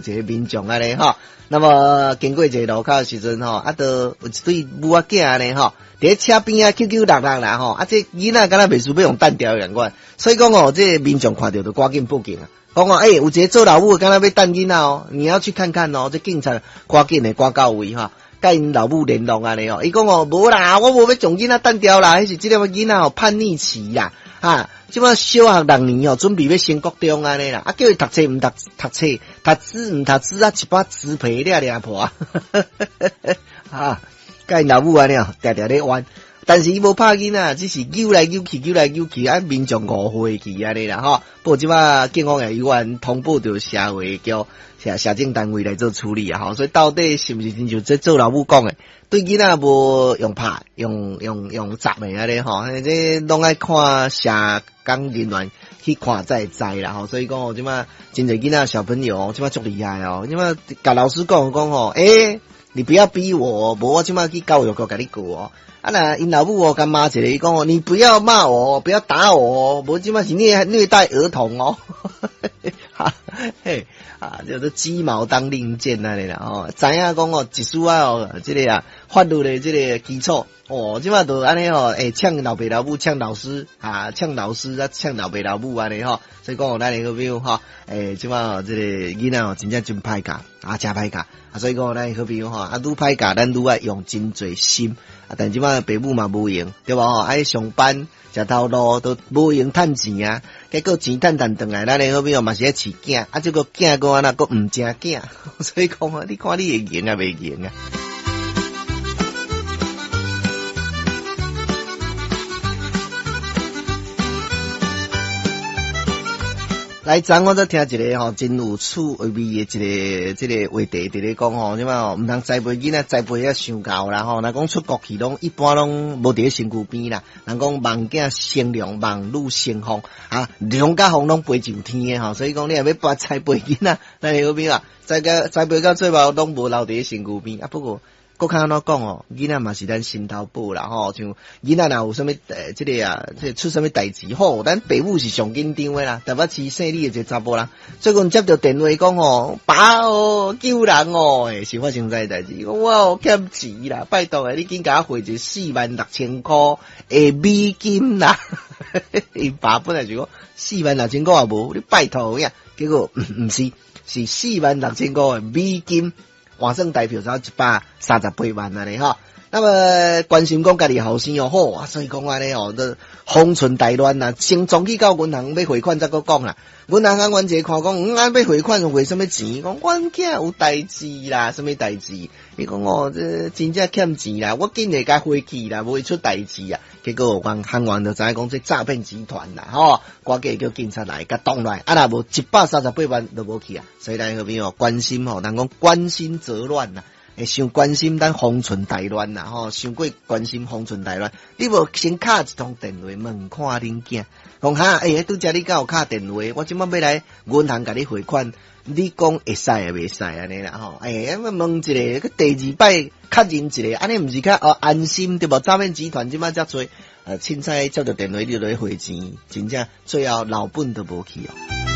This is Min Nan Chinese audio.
一个民眾按呢吼。那麼經過一个路口的時陣吼，啊，就有一對母仔囝按呢吼，佇咧車邊仔扭扭搦搦啦吼，啊，這囡仔敢若袂輸欲予擲牢共款，所以講哦，這個民眾看著就趕緊報警啊，講哦，欸，有一个做老母的敢若欲擲囡仔哦，你要去看看哦，這警察趕緊的趕到位吼，佮𪜶老母聯絡按呢哦，伊講哦，無啦，我無欲將囡仔擲牢啦，彼是這个囡仔哦叛逆期啦，哈，這擺小學六年哦，準備欲升國中按呢啦，啊，叫伊讀冊毋讀讀冊，讀書毋讀書啊，一擺紙皮掠掠破，哈，佮𪜶老母按呢哦，定定咧冤，但是伊無拍囡仔，只是扭來扭去，扭來扭去，啊，民眾誤會去按呢啦吼。不過這擺警方也有緣通報著社會局、社社政單位來做處理啊吼，所以到底是毋是親像這做老母講的，對囡仔無用拍、用用用砸的按呢吼，這攏愛看社工人員去看才會知啦吼。所以講哦，這擺真濟囡仔小朋友，這擺足厲害哦，這擺共老師講講吼，欸，你不要逼我，無我這擺去教育局共你告哦。啊若𪜶老母哦，共罵一个，伊講哦，你不要罵我，不要打我，無這擺是虐虐待兒童哦。哈嘿，啊，叫做雞毛當令箭按呢啦吼，知影講哦，一絲仔哦，這个啊法律的這个基礎哦，這擺就按呢吼，欸，嗆老爸老母，嗆老師啊，嗆老師啊，嗆老爸老母按呢吼，所以講哦，咱的好朋友吼，欸，這擺哦，這个囡仔哦，真正真歹教啊，誠歹教啊，所以講咱的好朋友吼，啊，愈歹教，咱愈愛用真濟心啊，但這擺爸母嘛無閒，對無吼？愛上班。食頭路都無閒趁錢啊，結果錢趁趁轉來，咱的好朋友嘛是咧飼囝，啊，這個囝閣按怎閣毋成囝，所以講啊，你看你會閒啊袂閒啊？來，昨我才聽一个吼，真有趣味的一个這个話題，佇咧講吼，這擺吼，毋通栽培囡仔，栽培啊傷𠢕啦吼。若講出國去，攏一般攏無佇咧身軀邊啦。人講望囝成龍，望女成鳳，啊，龍佮鳳攏飛上天的吼。所以講，你若欲把栽培囡仔，咱的好朋友啊，栽到栽培到最後，攏無留佇咧身軀邊啊。不過，閣較按怎講哦，囡仔嘛是咱心頭寶啦吼，像囡仔若有啥物欸，這个啊，這個出啥物代誌吼，咱爸母是上緊張的啦。台北市姓李的一个查埔人，最近接著電話講吼，爸哦，救人哦，欸，是發生啥代誌？我有欠錢啦，拜託的，你緊共我匯一46,000箍的美金啦。𪜶爸本來是講46,000箍也無，你拜託影，結果毋是，是46,000箍的美金。換算台票才138萬按呢吼。那麼關心講家己後生哦，好啊，所以講按呢哦，都方寸大亂啊，先衝去到銀行欲匯款，才閣講啦。銀行行員一看講，嗯，啊欲匯款匯啥物錢？講阮囝有代誌啦，啥物代誌？伊講哦，這真正欠錢啦，我緊會共匯去啦，無會出代誌啊。結果阮行員就知影講這詐騙集團啦，吼，趕緊叫警察來共擋落來，啊若無138萬都無去啊。所以咱好朋友關心吼，人講關心則亂啦，會傷關心咱方寸大亂啦，吼，傷過關心方寸大亂。你無先敲一通電話問看恁囝，講哈，欸，拄才你敢有敲電話？我這擺欲來銀行共你匯款，你講會使抑袂使按呢啦吼？欸，問一个，閣第二擺確認一个，按呢毋是較哦安心對無？詐騙集團這擺遮濟，凊彩接著電話你就來匯錢，真正最後老本都無去哦。